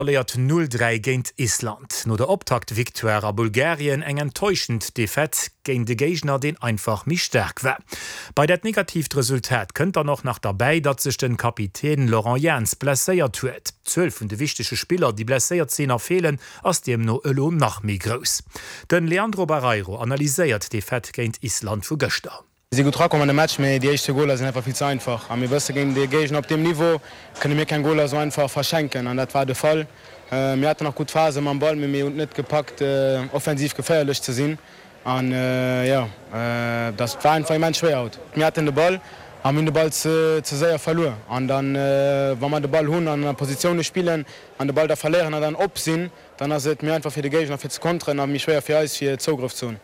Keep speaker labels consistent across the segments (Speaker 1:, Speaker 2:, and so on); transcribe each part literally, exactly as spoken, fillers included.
Speaker 1: Verléiert null dräi géint Island. No der Optakt-Victoire a Bulgarien eng enttäuschend Defaite géint e Géigner, deen einfach méi staark war. Bei dat negatiivt Resultat kënnt dann och nach derbäi, datt sech de Kapitän Laurent Jans blesséiert huet. D'Zuel vun de wichtege Spiller, déi blesséiert sinn a feelen, ass deemno elo nach méi grouss. De Leandro Barreiro analyséiert d'Defaite géint Island vu gëschter.
Speaker 2: Mir si gutt erakomm an de Match, mee déi éischt zwee Goler sinn einfach vill ze einfach. A mir wësse géint ee Géigner op deem Niveau kënne mir keng Goler esou einfach verschenken an dat war de Fall. Mir haten nach gutt Phase mam Ball, mee mir hunn et net gepackt offensiv geféierlech ze sinn. An jo, dat war einfach immens schwéier haut. Mir haten de Ball a mir hunn de Ball ze séier verluer. An dann, wa mer de Ball hunn an a Positioune spillen an de Ball da verléieren an dann op sinn, dann ass et méi einfach fir de Géigner fir ze konteren a méi schwéier fir eis fir Zougrëff ze hunn.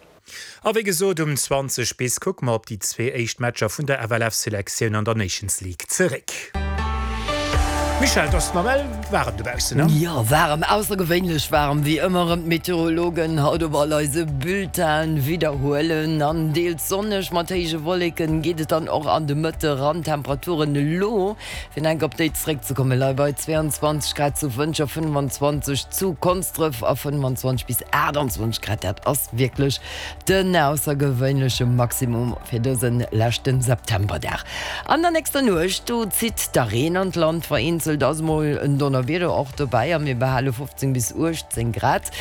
Speaker 1: A wéi gesot, um zwanzeg bis kucke mer op déi zwee éischt Matcher vun der F L F-Selektioun an der Nations League zeréck. Michèle, et ass nawell waarem dobaussen, ne?
Speaker 3: Jo, waarem, aussergewéinlech waarem, wéi ëmmer erëm d'Meteorologen haut op all eise Bulletinen widderhuelen. An deels sonneg mat héije Wolleken geet et dann och an de Mëtte ran. D'Temperaturen elo, fir enk op déi zeréckzekommen, leie bei zwee an zwanzeg Grad zu Wëntger, fënnef an zwanzeg zu Konsdref a fënnef an zwanzeg bis aacht an zwanzeg Grad, dat ass wierklech den aussergewéinleche Maximum fir dëse leschte Septemberdag. An der nächster Nuecht, do zitt da Reen an d'Land, vereenzelt ass mol en Donnerwieder och dobäi a mir behale fofzéng bis uechtzéng Grad.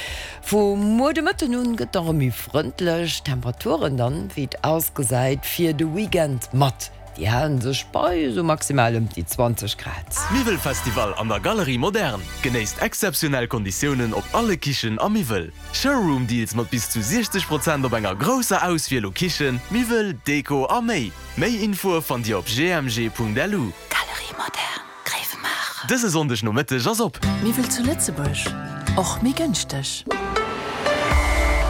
Speaker 3: Vu muer de Mëtten un gëtt da rëm méi frëndlech, Temperaturen dann, wéi et ausgesäit, fir de Weekend mat, déi halen sech bei esou maximal ëm déi zwanzeg Grad.
Speaker 4: Miwwelfestival an der Galerie Moderne. Genéisst exzeptionell Konditiounen op alle Kichen a Miwwel. Showroom Deals mat bis zu siechzeg Prozent op enger grousser Auswiel u Kichen, Miwwel, Deko a méi. Méi Infoe fannt Dir op G M G Punkt L U.
Speaker 5: Galerie Moderne, Gréiwemaacher.
Speaker 4: Dëse Sonndeg Nomëtteg ass op.
Speaker 5: Miwwel zu Lëtzebuerg, och méi gënschteg.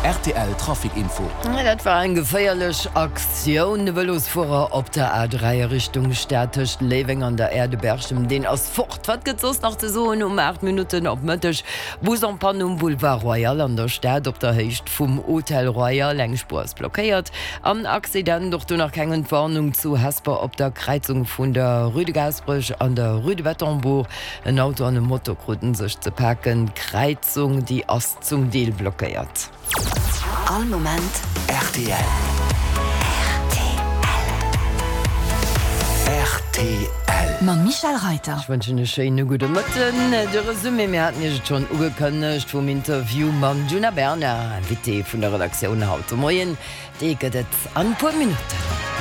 Speaker 6: R T L Trafic Info.
Speaker 3: Dat war eng geféierlech Aktioun. De Vëlosfuerer op der A dräi a Richtung Stad tëscht Léiweng an der Aire de Berchem, deen ass fort. Wat gëtt soss nach ze soen um aacht Minutten op Mëtteg? Bus en panne um Boulevard Royal an der Stad op der Héicht vum Hotel Royal, eng Spuer ass blockéiert. An Accident, och do nach keng Entwarnung, zu Hesper op der Kräizung vun der Rue de Gaasperech an der Rue de Bettembourg. En Auto an e Moto kruten sech ze paken. D'Kräizung, déi ass zum Deel blockéiert.
Speaker 5: All Moment
Speaker 6: R T L.
Speaker 5: R T L.
Speaker 6: R T L.
Speaker 5: Mam Michèle Reyter.
Speaker 3: Ech wënschen e schéine gudde Mëtten. De Resumé, mir haten Iech et schonn ugekënnegt, vum Interview mam Djuna Bernard, Invité vun der Redaktioun haut de Moien, dee gëtt et an e puer Minutten.